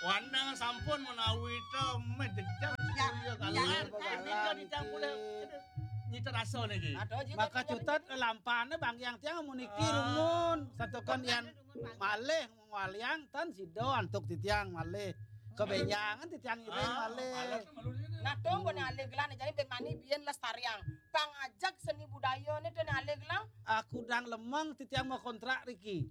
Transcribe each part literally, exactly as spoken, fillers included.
Wanang sampun menawi ta meh jejak. Ya, ya, galan, ya, galan, ya, niki. Nyita rasa niki. Maka cutet lampahné banggiang tiang amun niki rumun. Santukan yén malih ngwaliang tan sida antuk titiang malih. Kabénjangan titiang ngiring malih. Nah, dong, bener alih gelah, jani ben mani biyen lestariang. Pang ajak seni budayané dene alih gelah. Aku dang lemeng titiang mau kontrak riki.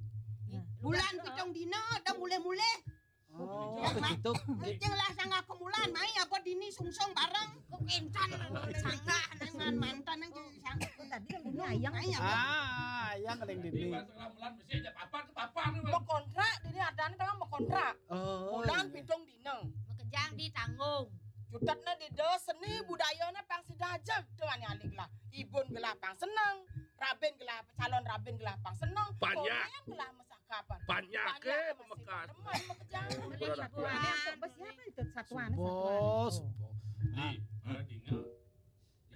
Bulan pitung dina, dah mulih-mulih. Oh, begitu. Cing lah sanggah kemulan, mai apa dini sungsung bareng. Kok encan sanggah dengan mantan yang jadi sang-, oh, tadi yang dini ayang. Ayang. Ah, ayang paling dini. Pas kemulan mesti aja papa ke papa nih. Mau kontrak, dini adanya kan mau kontrak. Oh. Bulan pitung dina. Makejang ditanggung. Cutetna di dos seni budayana pang sida aja tuh ane aling lah. Ibun gelah pang seneng, rabin gelah, calon rabin gelah pang seneng, banyak. Korean gelah mesah kapan. Banyak, banyak eh, masih pemekas. Teman makejang. Boleh hiburan. Siapa itu satuan? Subo, satuan. Subo. Di, eh, dina,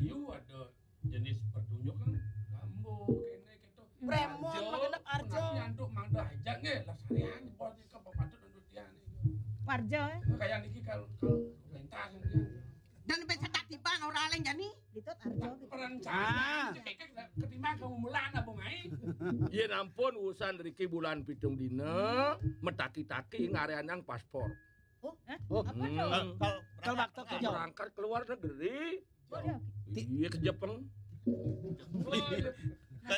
ieu ada jenis pertunjukan gambo, kene, gitu. Prémon, magenep arjo. Tapi antuk mangda aja nggih, lah sarian buat ke pepatut untuk tiang nih. Warjo, eh. Kayak niki kalau, kalau pentas niki. Dan bisa tak tiba orang lain jani. Ditut arjo gitu. Perencana ketimbang kamu mulan apa mai? Yén ampun urusan riki bulan pitung dina, metaki-taki ngareanang paspor. Oh, hah? Oh. Apa tuh? Kalau, kalau waktu kerja. Berangkat ke luar negeri. Iya, ke Jepang.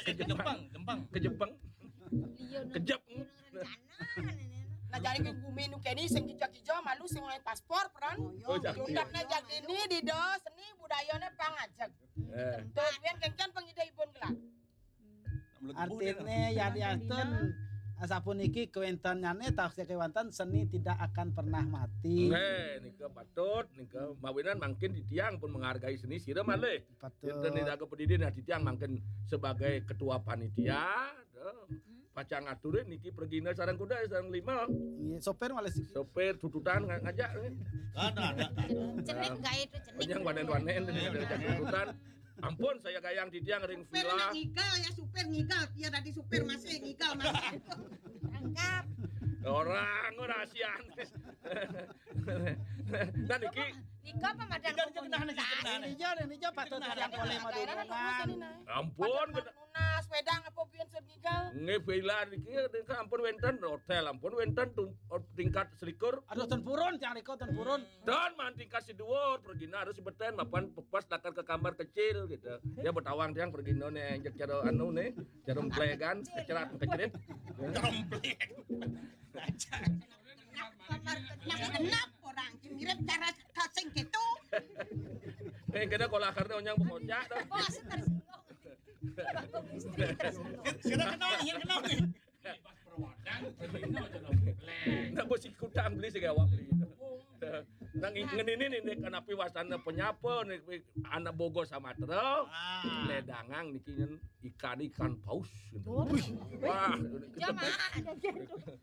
Ke Jepang, Jepang. Ke Jepang. Iya, ke Jepang. Nah, jani ke bumi nu kene sing kija-kija malu sing oleh paspor peran. Oh, iya. Jundakna jak ini di dos seni budayane pang ajeg. Eh. Tuh, yen kencan pengida ibun gelah. Artine ya diantun asapuniki kewéntenane taksih kewanten seni tidak akan pernah mati. Nggih, nika patut, nika mawinan mangkin titiang pun menghargai seni sira malih. Patut. Enten nika pedidi nah titiang mangkin sebagai ketua panitia, pacang ngaturin niki pergina sareng kuda sareng lima. Iya, sopir malih siki. Sopir tututan nga-, ngajak. Ada, ada, ada. Cenik gaé itu cenik. Yang wanen-wanen tututan. Ampun, saya gayang titiang ring villa. Supir ngigal ya, supir ngigal. Ya tadi supir masih ngigal masih. Tangkap. Orang rahasian. Nah, niki. Nika apa madan komunitas? Nija, nija patut yang boleh madunungan. Ampun, nunas wedang apa biyen sud ngigal. Nggih, villa niki ampun wénten hotel, ampun wénten tingkat selikur. Aduh, ten purun, tiang nika ten purun. Dan man tingkat si dhuwur, pergina harus sibeten mapan pepas lakar ke kamar kecil gitu. Ya betawang tiang pergina nih, cek cara anu nih, cara emplegan, kecerat, kecerit. Cara empleg. Masih genap orang, mirip cara kasing gitu. Eh, kena kalau akarnya onyang bengocak dah. Oh, asik tersinggung. Kita kenal, ya kenal nih. Pas perwadan, pergina cara empleg. Ndak bos ikutan beli sing awak beli. Nang ngenini nih, nih, kanapi wastana penyapa nih, anak Bogor Samatra. Ah. Ledangang niki nyen ikan, ikan paus gitu. Wih. Wah, jangan.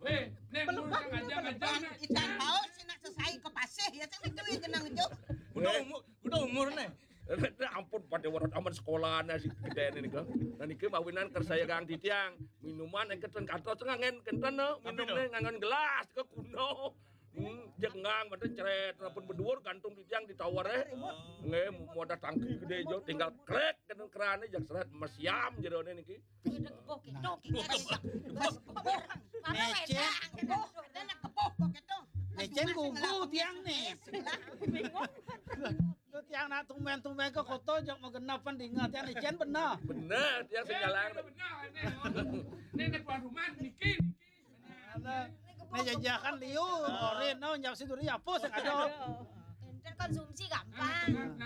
Weh, nih, mun sengaja ngajar, nih. Ikan paus, nak selesai ke pasir, ya, sing itu ya jenang itu. Udah umur, udah umur nih. Ampun, pada warat aman sekolahnya si gedene nika. Nah, niki mawinan kersaya kang titiang. Minuman engke ten katos ngangen kenten, no. Apa minumne itu? Ngangen gelas ke kuno. Hmm, jengang mboten cret, ampun beduur gantung titiang di tower, eh. Oh. Nggih, modal tangki gedé jo, tinggal krek kenten kerane jak seret mesiam jerone niki. Udah kepoh gitu, kita ajak. Pas kepoh. Mana wedang? Kepoh, ada nak kepoh kok gitu. Ecen gugu tiang nih. Bingung. Lu tiang nak tumben-tumben ke kota jok mau genep pan dingat tiang ecen bener. Bener, tiang sing jalan. Bener, ini. Ini, ini tuan rumah, niki, niki. Nah, ini jajahan liu, orin, no, nyap si duri apa sing ada. Enten konsumsi gampang.